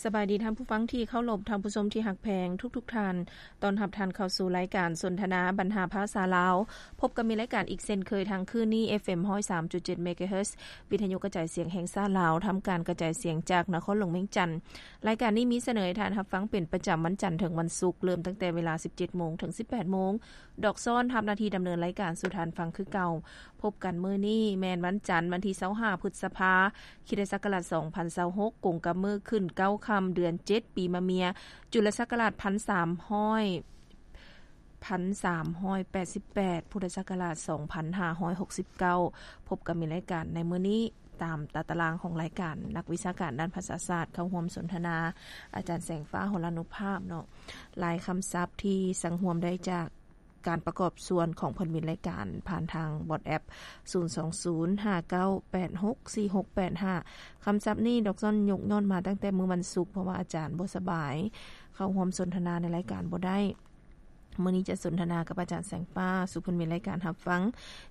ສະບາຍດີທ່ານຜູ້ຟັງທີ່ເຄົາລົບ, ທ່ານຜູ້ຊົມທີ່ຮັກແພງທຸກໆທ່ານ. ຕ້ອນຮັບທ່ານເຂົ້າສູ່ລາຍການສົນທະນາບັນຫາພາສາລາວ. ພົບກັບມີລາຍການອີກເຊັ່ນເຄີຍທາງຄືນນີ້ ເອຟເອັມຮ້ອຍສາມຈຸດເຈັດເມກາເຮີດ ວິທະຍຸກະຈາຍສຽງແຫ່ງຊາດລາວ, ທຳການກະຈາຍສຽງຈາກນະຄອນຫຼວງວຽງຈັນ. ລາຍການນີ້ມີສະເໜີໃຫ້ທ່ານຮັບຟັງເປັນປະຈຳວັນຈັນເຖິງວັນສຸກ, ເລີ່ມຕັ້ງແຕ່ເວລາສິບເຈັດໂມງເຖິງສິບແປດໂມງ. ດອກຊ້ອນຮັບໜ້າທີ່ດຳເນີນລາຍການສູ່ທ່ານຟັງຄືເກົ່າ. ພົບກັນມື້ນີ້ແມ່ນວັນຈັນ ວັນທີຊາວຫ້າ ພຶດສະພາ ຄຣິສຕະສັກກະລາດສອງພັນຊາວຫົກ ກົງກັບມື້ຂຶ້ນເກົ້າຄ່ຳ ເດືອນເຈັດ ປີມະເມຍ ຈຸລະສັກກະລາດພັນສາມຮ້ອຍ ພັນສາມຮ້ອຍແປດສິບແປດ ພຸດທະສັກກະລາດສອງພັນຫ້າຮ້ອຍຫົກສິບເກົ້າ. ພົບກັບມີລາຍການໃນມື້ນີ້ ຕາມຕາຕະລາງຂອງລາຍການ, ນັກວິຊາການດ້ານພາສາສາດເຂົ້າຮ່ວມສົນທະນາ ອາຈານແສງຟ້າ ຫົລານຸພາບເນາະ. ລາຍຄຳສັບທີ່ສັງຮວມໄດ້ຈາກ ການປະກອບສ່ວນຂອງເພິ່ນມີລາຍການຜ່ານທາງ WhatsApp ສູນສອງສູນຫ້າເກົ້າແປດຫົກສີ່ຫົກແປດຫ້າ. ຄຳສັບນີ້ດອກຊ້ອນຍົກຍ້ອນມາຕັ້ງແຕ່ມື້ວັນສຸກ, ເພາະວ່າອາຈານບໍ່ສະບາຍ, ເຂົ້າຮ່ວມສົນທະນາໃນລາຍການບໍ່ໄດ້. ມື້ນີ້ຈະສົນທະນາກັບອາຈານແສງຟ້າ ສູ່ເພິ່ນມີລາຍການຮັບຟັງ.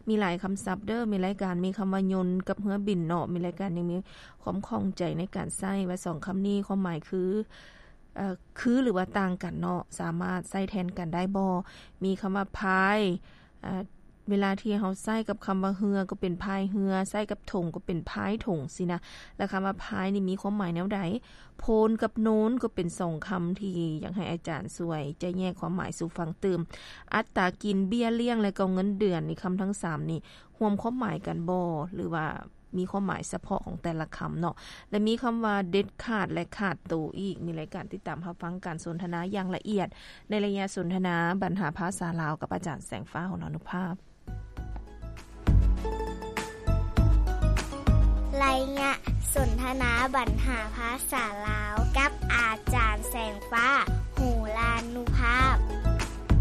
ມີຫຼາຍຄຳສັບເດີ້, ມີລາຍການ, ມີຄຳວ່າຍົນກັບເຮືອບິນເນາະ, ມີລາຍການຍັງມີຄວາມຂ້ອງໃຈໃນການໃຊ້ວ່າສອງຄຳນີ້ຄວາມໝາຍຄື ເອີ ຄື ຫຼືວ່າຕ່າງກັນເນາະ, ສາມາດໃຊ້ແທນກັນໄດ້ບໍ່? ມີຄຳວ່າພາຍ ເອີ ເວລາທີ່ເຮົາໃຊ້ກັບຄຳວ່າເຮືອກໍເປັນພາຍເຮືອ, ໃຊ້ກັບຖົງກໍເປັນພາຍຖົງຊີ້ນະ. ແລະ ຄຳວ່າພາຍນີ້ມີຄວາມໝາຍແນວໃດ? ໂພນກັບໂນນກໍເປັນສອງຄຳທີ່ຢາກໃຫ້ອາຈານຊ່ວຍຈະແຍກຄວາມໝາຍສູ່ຟັງຕື່ມ. ອັດຕາກິນ, ເບ້ຍລ້ຽງ ແລະ ກໍເງິນເດືອນນີ້, ຄຳທັງສາມນີ້ຮ່ວມຄວາມໝາຍກັນບໍ່ ຫຼືວ່າ ມີຄວາມໝາຍສະເພາະຂອງແຕ່ລະຄຳເນາະ ແລະ ມີຄຳວ່າເດັດຂາດ ແລະ ຂາດໂຕອີກ. ມີລາຍການຕິດຕາມຮັບຟັງການສົນທະນາຢ່າງລະອຽດ ໃນໄລຍະສົນທະນາບັນຫາພາສາລາວ ກັບອາຈານແສງຟ້າ ຫົລານຸພາບ. ໄລຍະສົນທະນາບັນຫາພາສາລາວ ກັບອາຈ